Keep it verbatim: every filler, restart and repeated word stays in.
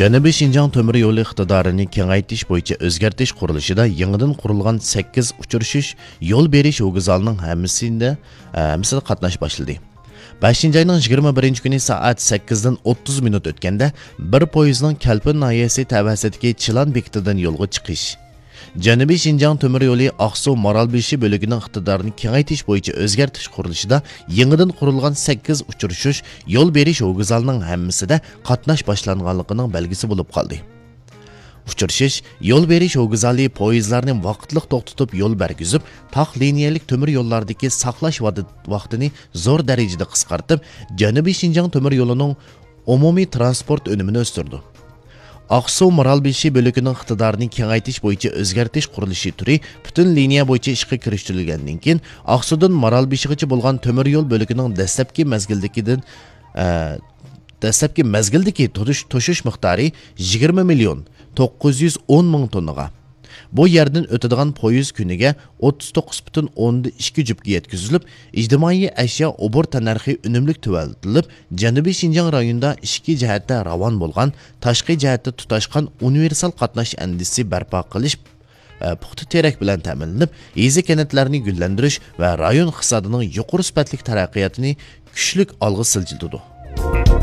جەنۇبىي شىنجاڭ تۆمۈر يولى ئىقتىدارىنى كېڭەيتىش بويىچە ئۆزگەرتىش قۇرۇلۇشىدا يېڭىدىن قۇرۇلغان سەككىز ئۇچرىشىش يول بېرىش ۋوگزالىنىڭ ھەممىسىدە، ھەممىسىدە قاتناش باشلىدى. بەشىنچى ئاينىڭ يىگىرمە بىرىنچى كۈنى سائەت سەككىزدىن ئوتتۇز مىنۇت ئۆتكەندە، بىر پويىزنىڭ كەلپىن ناھىيەسى تەۋەسىدىكى چىلان بېكىتىدىن يولغا چىقىش، جەنۇبىي شىنجاڭ تۆمۈر يولى ئاقسۇ مارالبېشى بۆلىكىنىڭ ئىقتىدارىنى كېڭەيتىش بويىچە ئۆزگەرتىش قۇرۇلۇشىدا يېڭىدىن قۇرۇلغان سەككىز ئۇچرىشىش يول بېرىش ۋوگزالىنىڭ ھەممىسىدە قاتناش باشلانغانلىقىنىڭ بەلگىسى بولۇپ قالدى. ئۇچرىشىش يول بېرىش ۋوگزالى پويىزلارنى ۋاقىتلىق توختىتىپ يول بەرگۈزۈپ، تاق لىنىيەلىك تۆمۈر يوللاردىكى ساقلاش ۋادى-، ۋاقتىنى زور دەرىجىدە قىسقارتىپ، جەنۇبىي شىنجاڭ تۆمۈر يولىنىڭ ئومۇمىي تىرانسپورت ئۈنۈمىنى ئۆستۈرىدۇ. ئاقسۇ مارالبېشى بۆلىكىنىڭ ئىقتىدارىنى كېڭەيتىش بويىچە ئۆزگەرتىش قۇرۇلۇشى تۈرى پۈتۈن لىنىيە بويىچە ئىشقا كىرىشتۈرۈلگەندىن كېيىن، ئاقسۇدىن مارالبېشىغىچە بولغان تۆمۈر يول بۆلىكىنىڭ دەسلەپكى مەزگىلدىكىدىن، ئە، دەسلەپكى مەزگىلدىكى توشۇش، توشۇش مىقدارى يىگىرمە مىليون توققۇز يۈز ئون مىڭ توننىغا، بۇ يەردىن ئۆتىدىغان پويىز كۈنىگە ئوتتۇز توققۇز پۈتۈن ئوندىن ئىككى جۈپكە يەتكۈزۈلۈپ، ئىجتىمائىي ئەشيا ئوبور تەننەرخى ئۈنۈملۈك تۆۋەنلىتىلىپ، جەنۇبىي شىنجاڭ رايونىدا ئىچكى جەھەتتە راۋان بولغان، تاشقى جەھەتتە تۇتاشقان ئۇنىۋېرسال قاتناش ئەندىزىسى بەرپا قىلىش، ئە، پۇختا تىرەك بىلەن تەمىنلىنىپ، يېزا، كەنتلەرنى گۈللەندۈرۈش ۋە رايون ئىقتىسادىنىڭ يۇقىرى سۈپەتلىك تەرەققىياتىنى كۈچلۈك ئالغا سىلجىتىدۇ.